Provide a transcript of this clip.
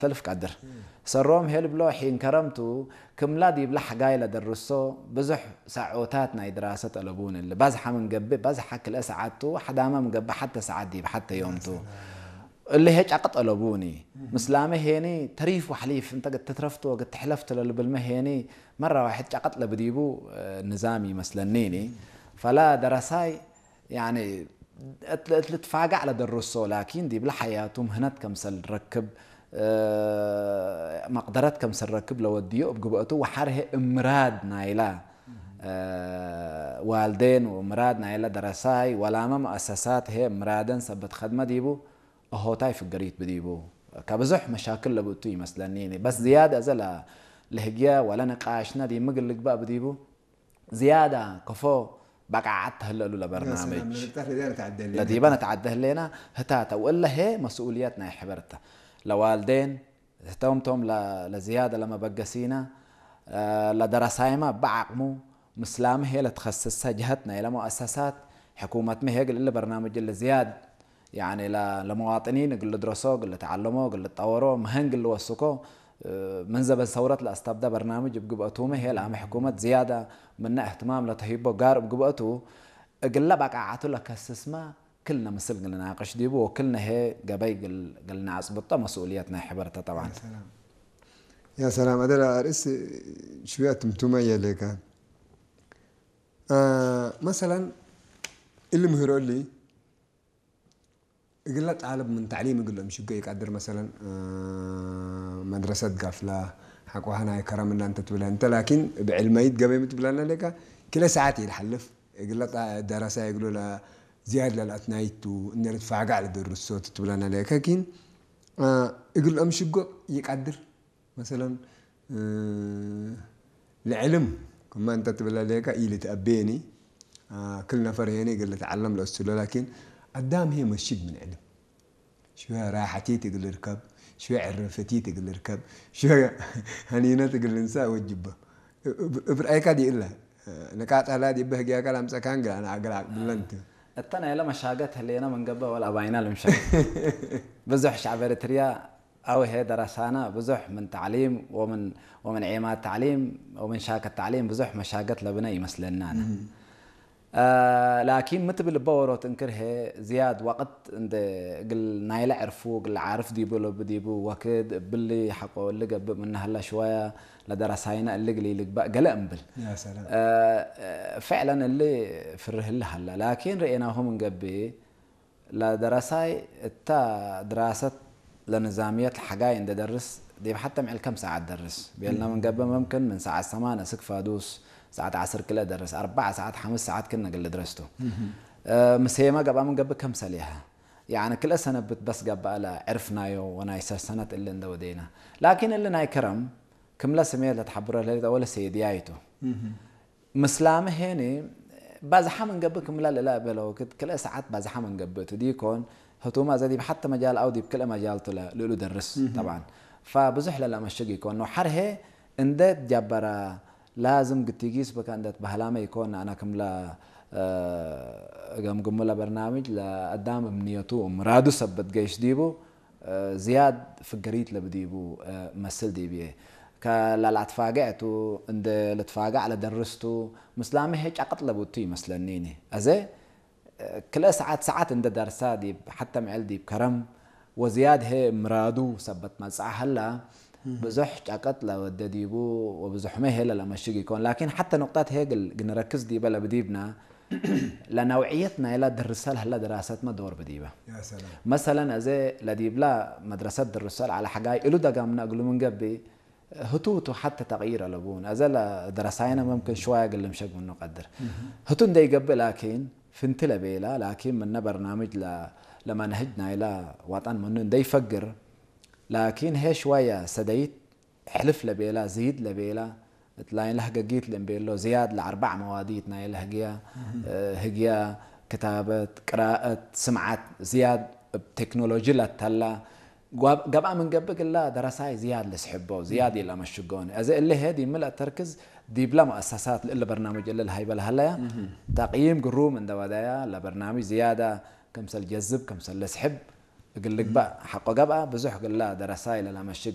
ሰልፍ ቀድር ሰሮም ሄል ብሎ ሒን ከረምቱ ክምላ ዲብላ ሓጋይ ለደርሶ ብዙሕ ሳዖታት ናይ ድራሰ ጠለቡን እሊ ባዝሓ ምን ገብእ ባዝሓ ክልአ ሰዓቱ ሓዳማ ምን ገብእ ሓተ ሰዓት ዲብ ሓተ ዮምቱ እሊ ሄ ጫቀ ጠለቡኒ ምስላመ ሄኒ ተሪፍ ወሕሊፍ እንተ ትትረፍቶ ግትሕለፍ ትለልብልመ ሄኒ መራ ዋሕድ ጫቀጥ ለብዲቡ ንዛም ይመስለኒኒ ፈላ ደረሳይ ያኒ እት እት ልትፋጋዕ ለደርሶ ላኪን ዲብለ ሓያቱ ምህነት ከምሰል ረክብ መቅደረት ከምሰል ረክብ ለወድዮ እብ ግብአቱ ወሓርሄ እምራድ ናይላ ዋልዴን ወምራድ ናይላ ደረሳይ ወላመ መአሰሳት ሄ እምራደን ሰበት ኸድመ ዲቡ እሆታይ ፍገሪት ብዲቡ ከብዙሕ መሻክል ለብእቱ ይመስለኒ በስ ዝያድ እዘ ለህግያ ወለ ንቃሽና ዲምግ ልግባእ ብዲቡ ዝያዳ ከፎ በቃዓት ተህለሉ ለበርናምጅ ለዲበ ነተዓደ ህሌና ህታተ ወለሄ መስኡልየት ናይ ሕበርተ ለዋልዴን ህተውምቶም ለዝያደ ለመበገሲና ለደረሳይማ በዓቅሙ ምስላም ሄ ለትኸስሰ ጀሀት ናይ ለመؤسسات ሕኩመት መሄግ ልእለ በርናምጅ ለዝያድ ያኒ ለመዋጥኒን እግል ድረሶ እግል ተዓለሞ እግል ጠወሮ ምህን ግል ወስኮ ምን ዘበን ሰውረት ለአስተብደ በርናምጅ እብ ግብአቱመ ሄ ለአመ ሕኩመት ዝያዳ ምነ እህትማም ለተሂቦ ጋር እብ ግብአቱ እግለ በቃዓቱ ለከስስመ ክልነ ምስል ግልናቅሽ ዲቡ ወክልነ ሄ ገበይ ግልናአጽብጦ መስኡልየት ናይ ሕበርተ ጠባን يا سلام هذا الأرئيس شوية تمتومة يليكا آه مثلا اللي مهرولي እግለ ጣልብ ምን ተዕሊም እግሎም ሽጎ ይቃድር መሰለን መድረሰት ጋፍላ ሓቆሃና ይከረምና እንተ ትብለ እንተ ላኪን ብዕልመይት ገበይ ምትብለና ሌካ ክለ ሰዓት ይልሓልፍ እግለ ደረሳ ይግሎ ዝያድ ለልኣትናይቱ እነ ልትፋጋዕ ለደርሶ ትትብለና ሌካ ኪን እግሎም ሽጎ ይቃድር መሰለን ልዕልም ክማ እንተ ትብለ ሌካ ኢልትአቤኒ ክል ነፈር ሄኒ እግል ልትዓለም ለእስሎ ላኪን አዳም ሄ መስጅድ ምን ዕልም ሽወ ራሐቲት እግል ርከብ ሽወ ዕርፍቲት እግል ርከብ ሽወ ሀኒነት እግል ልንሳ ወጅበ እብ ርአይካ ዲእለ ንቃጠላ ዲበ ህግያካ ላምፀካን ግላ ንአገል አቅብለንት እተ ናይለ መሻገት ህሌና መንገበ ወል አባይና ልምሻል ብዙሕ ሻዕብ ኤርትርያ አውሄ ደረሳና ብዙሕ ምን ተዕሊም ወምን ወምን ዔማት ተዕሊም ወምን ሻከት ተዕሊም ብዙሕ መሻገት ለብነ ይመስለናነ። ላኪን ምትብል በወሮት እንክርሄ ዝያድ ወቅት እንደ እግል ናይለ ዕርፉ እግል ዓርፍ ዲቡ ለብዲቡ ወክድ እብሊ ሐቆ እሊ ገብእ ምነ ሀላ ሽወያ ለደረሳይና እሊ እግል ይልግባእ ገለ እምብል። ፍዕለን እሊ ፍርህ እሊ ሀላ ላኪን ርኤናሁ ምን ገብእ ለደረሳይ እታ ድራሰት ለንዛምየት ለሐጋይ እንደ ደርስ ዲብ ሐተ ምዕል ከም ሰዓት ደርስ ቤልና ምን ገብእ መምክን ምን ሰዓት ሰማነ እስክ ፋዱስ ሰዓት ዐስር ክለ ደርስ አርባዕ ሰዓት ሐምስ ሰዓት ክነ ግል ድረስቱ ምሴመ ገብአ ምን ገብእ ከም ሰሊሐ ያኒ ክልአ ሰነብት በስ ገብአ ለዕርፍናዮ ወናይ ሰሰነት እሊ እንደ ወዴና ላኪን እሊ ናይ ከረም ክምለ ስሜት ለትሐብሮ ለሊጠ ወለ ሴድያይቱ ምስላመ ሄኒ ባዝሓ ምን ገብእ ክምላ ልላ እበለ ወክድ ክልአ ሰዓት ባዝሓ ምን ገብእ ቱ ዲኮን ህቱማ እዘ ዲብ ሐተ መጃል አው ዲብ ክልአ መጃል ቱ ልእሉ ደርስ ጠብዓን ፋብዙሕ ለላ መሽግ ይኮን ነው ሐርሄ እንደ ጀበራ ላዝም ግቲጊስ በካ እንደ ትበህላመ ይኮን አና ክምላ ገምግሙ ለበርናምጅ ለአዳም እምንየቱ ምራዱ ሰበት ገይሽ ዲቡ ዝያድ ፍገሪት ለብዲቡ መስል ዲብዬ። ከላልአትፋገዕ ቱ እንደ ልትፋጋዕ ለደርስ ቱ ምስላሚ ሄ ጫቅጥ ለቡ ቱ ይመስለኒኒ። አዜ ክልኤ ሰዓት ሰዓት እንደ ደርሳ ዲብ ሐተ ምዕል ዲብ ከረም ወዝያድ ሄ ምራዱ ሰበት መጽአ ሀላ ብዙሕ ጫቅጥ ለወደ ዲቡ ወብዙሕመ ሄ ለለመሽግ ኢኮን። ላኪን ሐተ ኑቅጠት ሄ ግል ግንረክዝ ዲበ ለብዲብና ለነውዕየት ናይላ ድርሰ ለሀላ ድራሰትመ ዶር ብዲበ። መሰለን አዜ ለዲብላ መድረሰት ድርሰ ለዐለ ሐጋይ እሉ ደጋምነ እግሉ ምን ገብእ ህቱ ህቱ ሐተ ተቅይር አለቡን። አዜ ለደረሳይነ መምክን ሽዋየ እግል ልምሸግ ምኑ ቀድር። ህቱ እንደ ኢገብእ ላኪን ፍንቲ ለቤላ ላኪን ምነ በርናምጅ ለመንህጅ ናይላ ዋጠን ምኑ እንደ ኢፈግር ላኪን ሄ ሽዋየ ሰደይት ሕልፍ ለቤላ ዝይድ ለቤላ እት ላይን ለህገጊት ልእምቤሎ ዝያድ ለአርባዕ መዋዲት ናይ ለህግያ ህግያ ክታበት ቅራአት ስምዓት ዝያድ እብ ቴክኖሎጂ ለተላ ገብአ ምን ገብእ ግላ ደረሳይ ዝያድ ልስሕቦ ዝያድ ኢለመሽጎኒ። እዚ እሊ ሄ ዲምልአ ተርክዝ ዲብለ መአሰሳት ልእለ በርናምጅ እሊ ለሀይበ ለሀለያ ተቅይም ግሩም እንደ ወደያ ለበርናምጅ ዝያዳ ክምሰል ጀዝብ ክምሰል ልስሕብ እግል ልግባእ ሐቆ ገብአ ብዙሕ ግላ ደረሳይ ለለመሽግ